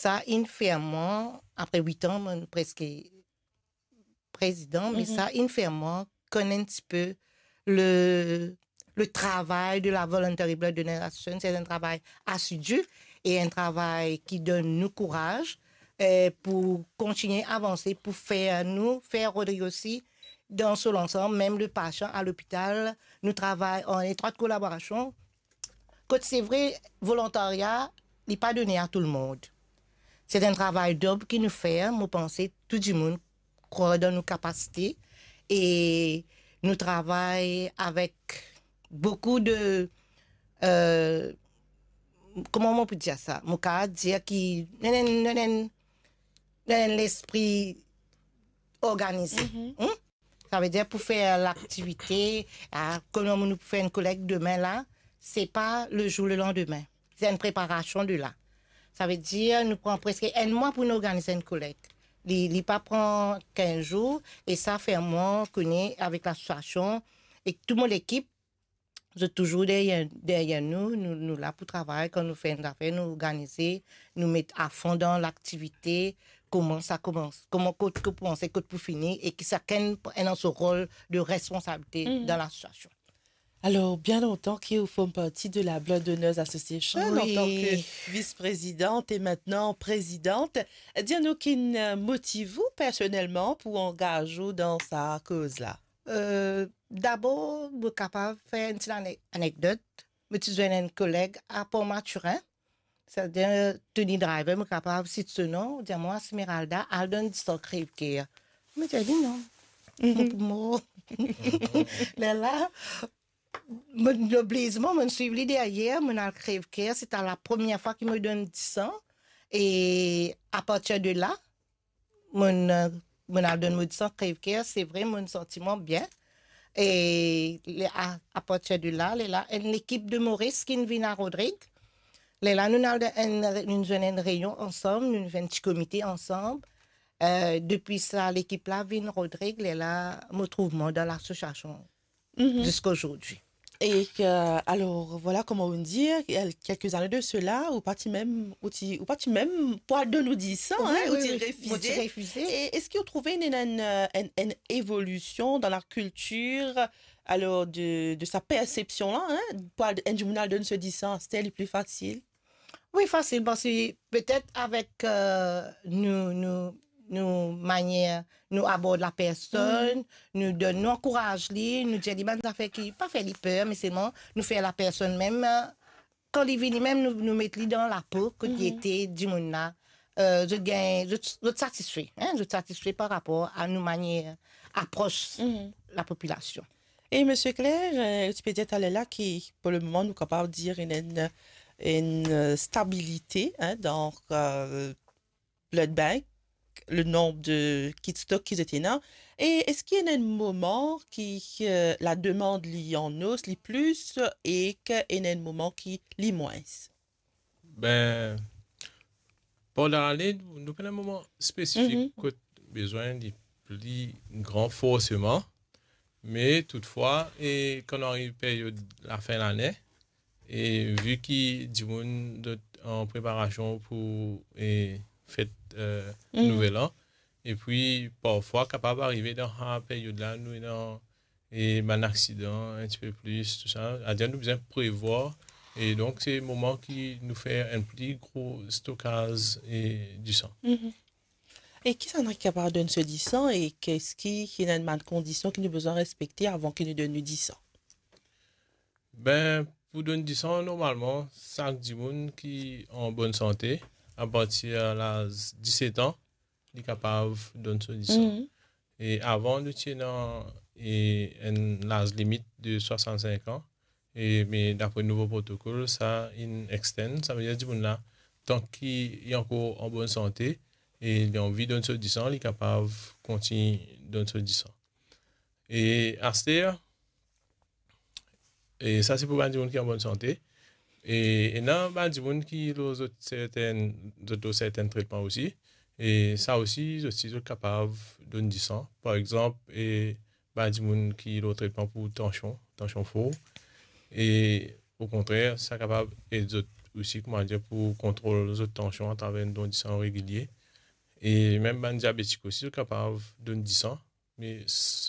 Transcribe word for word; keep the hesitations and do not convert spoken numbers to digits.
Sa inn fer mwa, apre wit an, mo preske prezidan, me sa inn fer mwa konn enn tipe le, le travay de la Voluntary Blood Donors Association. Se enn travay asidi e enn travay ki donn nou kouraz, eh, pou kontinie avanse, pou fer nou, fer Rodrig osi dan so lansam, mem le pasian a lopital, nou travay an etrwat kolaborasion. Kot se vre, volontarya, li pa done a tou lemond. Se enn travay dob ki nou fer, mo panse tou dimoun krwar dan nou kapasite e nou travay avek boukou de, eh, kouma mo pou dir sa? Mo kav dir ki, nou ena enn, nou ena enn, nou ena enn lespri organize. Savedir pou fer laktivite, a, kouma nou pou fer enn kolek demin la, se pa le zour le landime. Se enn preparasion de la. Savedir nou pran preske enn mwa pou nou organiz enn kolek. Li, li pa pran kinz zour, e sa fer mwa kone avek lasosiasion e tou mo lekip, zot touzour deryer, deryer nou, nou, nou la pou travay. Kan nou fer enn zafer, nou organize, nou met afon dan laktivite, kouma sa koumans, kouma kot pou koumans, kot pou fini, e ki sakenn ena so rol de responsabilite dan lasosiasion. Alor, bien lontan ki ou form parti de la Blood Donors Association en tant que vice-présidente et maintenant présidente. Dir nou ki motiv ou personelman pou angaz ou dan sa koz la? Eh, dabor, mo kapav fer enn ti ane-, anekdot. Mo ti zwenn enn koleg a Port Mathurin, savedir Tony Driver, mo kapav sit so nom, dir mwa, "Smeralda, al donn disan, krev ker." Mo dir li, "Non, mo pou mor." Lerla, mo, oblizman, mo swiv li deryer, mo al krev ker, se ta la premie fwa ki mo donn disan, e apartir de la, mo, mo al donn mo disan krev ker, se vre, mo santi mwa bien. E le, a, apartir de la, lerla, enn lekip de Moris ki vinn a Rodrig. Lerla, nou al dan enn, nou zwenn enn reynion ansam, nou fer enn ti komite ansam. Eh, depi sa, lekip la vinn Rodrig, lerla, mo trouv mwa dan lasosiasion ziska zordi. E ke, alor, vwala, kouma ou dir, kel-, kelke zane de sela, ou pa ti mem, ou ti, ou pa ti mem pou al donn ou disan, wi, ou ti refize. Mo ti refize. E eski ou trouve enn, enn, enn, enn evolision dan lakiltir, alor, de, de sa persepsion la, en, pou al, enn dimoun al donn so disan, aster li pli fasil? Wi, fasil, parski petet avek, eh, nou, nou, nou manier nou abord lapersonn, nou donn, nou ankouraz li, nou dir li bann zafer ki pa fer li per, me selman nou fer lapersonn mem, eh, kan li vini mem, nou, nou met li dan lapo kot li ete, dimoun la, eh, zot gagn, zot, zot satisfe, en, zot satisfe par rapor a nou manier apros lapopilasion. E Misie Claire, eh, ti pe dir taler la ki, pou lemoman, nou kapav dir ena enn, enn, eh, stabilite, en, dan, eh, blood bank, le nonb de kit stok ki zot ena. E eski ena enn moman ki, eh, lademand li an os, li plis, e ki ena enn moman ki li mwins? Be, pandan lane, nou pena enn moman spesifik kot bizin li pli gran forseman, me toutfwa, e kan nou ariv peryod lafin lane, e vi ki dimoun zot an preparasion pou, e, fet, eh, Nouvel An, epi parfwa kapav arive dan sa peryod la, nou ena e bann aksidan, enn tipe plis, tou sa. Savedir nou bizin prevwar, e donk se moman ki nou fer enn pli gro stokaz, e, disan. E kisannla ki kapav donn so disan, e eski ena bann kondision ki nou bizin respekte avan ki nou donn nou disan? Be, pou donn disan, normalman, sak dimoun ki an bonn sante, apartir laz diset an, li kapav donn so disan. E avan, nou ti ena, e, enn laz limit de swasannsink an, e, me dapre nouvo protokol, sa inn extend, savedir dimoun la, tan ki li ankor an bonn sante, e li anvi donn so disan, li kapav kontign donn so disan. E aster, e sa se pou bann dimoun ki an bonn sante. E ena bann dimoun ki lor zot sertenn, zot lor sertenn tretman osi. E sa osi, zot si zot kapav donn disan. Par exanp, e bann dimoun ki lor tretman pou tansion, tansion for. E okontrer, sa kapav ed zot osi, kouma dir, pou kontrol zot tansion atraver enn don disan regilie. E mem bann diabetik osi, zot kapav donn disan, me s-,